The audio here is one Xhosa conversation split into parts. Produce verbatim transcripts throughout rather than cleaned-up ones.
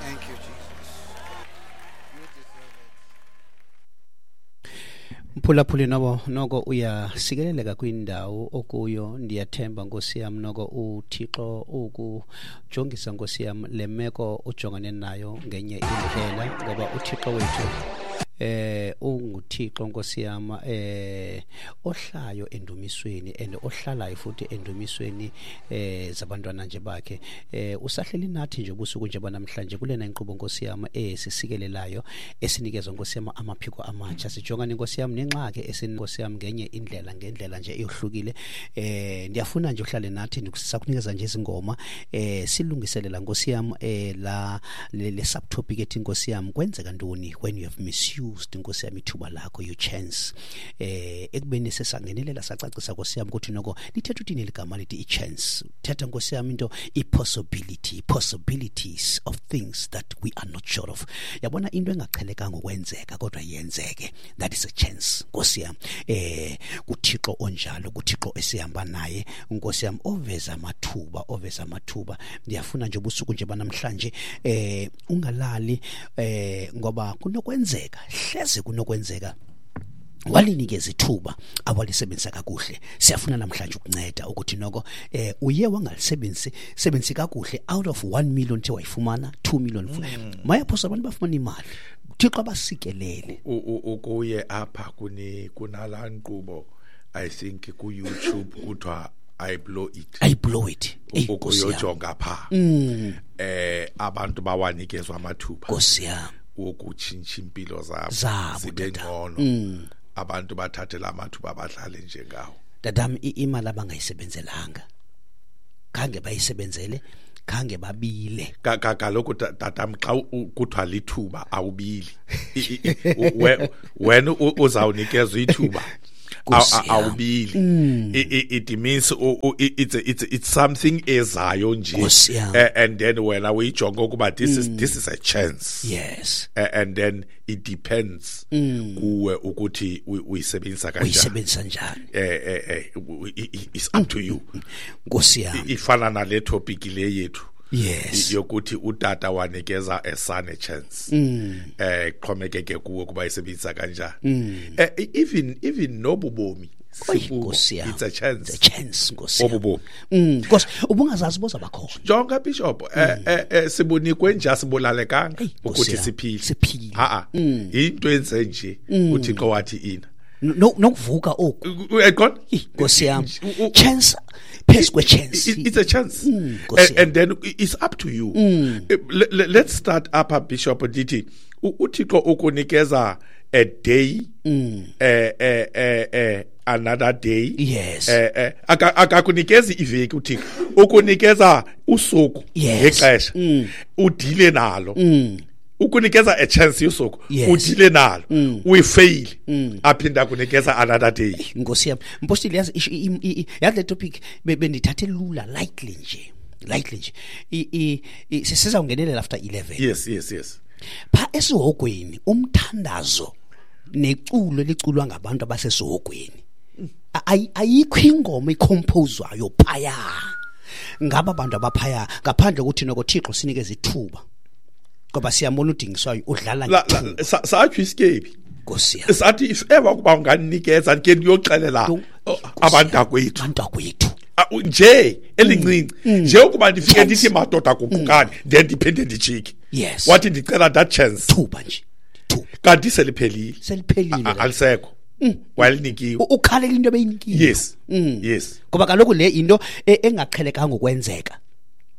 Thank you, Jesus. You deserve it. Mphulaphuli, nobo noko uyasikeleleka kwindawo okuyo. Ndiyathemba, Nkosi yam, noko uThixo ukujongisa, Nkosi yam, le meko ujongane nayo ngenye indlela, ngoba uThixo wethu eh unguThixo, Nkosi yam, eh ohlayo endumisweni and ohlalayo futhi endumisweni eh zabantwana nje bakhe. eh usahleli nathi nje ubusuku nje banamhlanje kulena inkqubo, Nkosi yam, esisikelelayo, esinikezwa, Nkosi yam, amaphiko amatsha. Sijongane, Nkosi yam, nengxaki esinkosi yam ngenye indlela, ngendlela nje eyohlukile. eh ndiyafuna nje uhlale nathi, sakunikeza nje izingoma eh silungiselela, Nkosi yam, eh la le, le subtopic ethi, Nkosi yam, kwenzeka ntoni when you have misused, Nkosi yam, ithuba lakho, your chance. eh ekubeni sesangenelela, sacacisa, Nkosi yam, ukuthi noko lithetha uthini ligama lithi i-chance. Thetha, Nkosi yam, into i-possibility, possibilities of things that we are not sure of. Yabona, into engaqhelekanga ukwenzeka kodwa yenzeke, that is a chance, Nkosi yam. eh kuThixo onjalo, kuThixo esihamba naye, Nkosi yam, oveza amathuba, oveza amathuba. Ndiyafuna nje ubusuku nje banamhlanje eh ungalali, eh ngoba kunokwenzeka, hleze kunokwenzeka walinikeza ithuba awalisebenzisa kakuhle. Siyafuna namhlanje ukunceda ukuthi noko eh uye wangalisebenzisi sebenzisi kakuhle out of one million the wayifumana, two million mm. Mayaphosa abantu bafumana imali, Thixo abasikelele. U- u- ukuye apha kuni kunala nkqubo, I think ku YouTube, kuthiwa "I Blow It". "I Blow It". Eyi, Nkosi yam. Ukuyojonga pha eh abantu bawanikezwa amathuba Nkosi yam. wokutshintsha impilo zabo Zabo, zibe tata. ngcono. Abantu bathathe la mathuba, badlale njengawo. Tatam, i- imali abangayisebenzelanga, khange bayisebenzele, khange babile. Ka- ka- kaloku ta- tatam, xa u- kuthiwa lithuba, awubili. I- i- i- u- we- wena u- uzawunikezwa ithuba, Nkosi Aw- yam. awubili. I- i- it means u- u- i- it's it's it's something ezayo nje. Nkosi yam. Eh, and then wena uyijonga ukuba this is this is a chance. Yes Eh, and then it depends kuwe ukuthi uy- uyisebenzisa kanjani. Uyisebenzisa njani. eh eh eh u- i- i- it's up to you. Nkosi yam. Ifana nale topic le yethu yes yokuthi utata wanikeza a son a chance. eh xhomekeke kuwe kuba isebenzisa kanjani. eh even even nobubomi Oyi, sikubo, Nkosi yam. it's a chance. It's a chance, Nkosi yam. Obubomi. Mm nkosi, ubungazazi boza bakhona. Jonga, Bishop, eh eh, eh sibunikwe nje, asibulalekanga Eyi, Nkosi ukuthi yam. siphile. Siphile. Ha a, into enze nje uThixo wathi ina No- nokuvuka oku. Uyaqonda? Eyi, Nkosi yam. U- u- Chance phezu kwe-chance. It- it's a chance. Nkosi and, yam. and then it's up to you. Eh, le- le- let's start apha, Bishop. Ndithi u- uThixo ukunikeza a day, eh eh eh eh another day. Yes. eh eh aka- akakunikezi iveki uThixo, ukunikeza usuku Yes. ngexesha udile nalo. Ukunikeza a chance yosuku, Yes. udile nalo, uyifail, aphinda akunikeza another day. Nkosi yam, mpostile, yazi isho- i- i- i- yazi le topic be- bendithathe lula, lightly nje, lightly nje. I- i- i- sizawungenelela after eleven. yes yes yes Pha esihogweni, umthandazo neculo liculwa ngabantu abasesihogweni. Ayi- ayikho ingoma icomposewayo phaya ngaba bantu abaphaya ngaphandle kokuthi noko Thixo sinikeze ithuba, ngoba siyambona udingiswayo udlala La- la- ngethuba. sa- satsho isikebi. Nkosi yam. Sathi if ever ukuba unganinikeza ke ndiyoxelela Nkosi oh, abantakwethu. Abantakwethu. Ah, u- nje elincinci nje ukuba ndifike Chance. ndithi, "Madoda, guqukani," then ndiphinde ndijike. Yes. Wathi, "Ndicela that chance." Thuba nje, thuba. Kanti seliphelile. Seliphelile. A- a- alisekho walinikiwe. U- ukhalela into ebeyinikiwe. yes yes Ngoba kaloku le into e- engaqhelekanga ukwenzeka,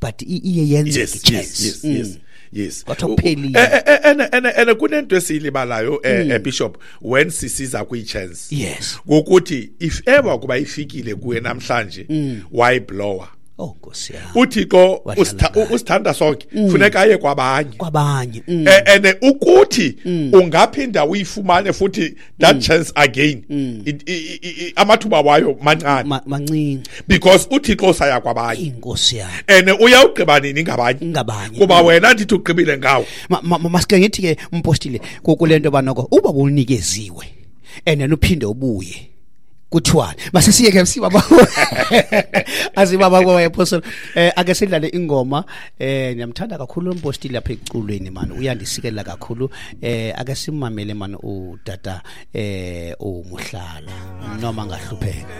but i- iye yenzeke. yes yes Chance. yes yes yes Kwathiwa kuphelile. Eh, eh, ene ene ene kunento esiyilibalayo, eh, eh, Bishop, when sisiza kwi-chance. Yes. Ngokuthi if ever kuba ifikile kuye namhlanje, wayiblower, Oh, Nkosi yam. uThixo Wadlala usitha- ngaye. usithanda sonke, funeka aye kwabanye. Kwabanye mm. Eh, and ukuthi ungaphinda uyifumane futhi that chance again, It- i- i- i- amathuba wayo mancane. Ma- mancinci. Because uThixo saya kwabanye. Inkosi yam. And uyawugqiba nini ngabanye? Ngabanye. Kuba wena ndithi ugqibile ngawo. Ma- ma- ma- masike ngithi ke, umpostile, kule nto banoko uba bunikeziwe and then uphinde ubuye Kuthiwani masesiyeke sibaba azibaba kwa apostle. Eh ake sidlale ingoma. Eh ngiyamthanda kakhulu umpostile lapha eculweni man, uyandisikelela kakhulu. Eh ake simamele man utata eh uMohlala noma ngahlupheka.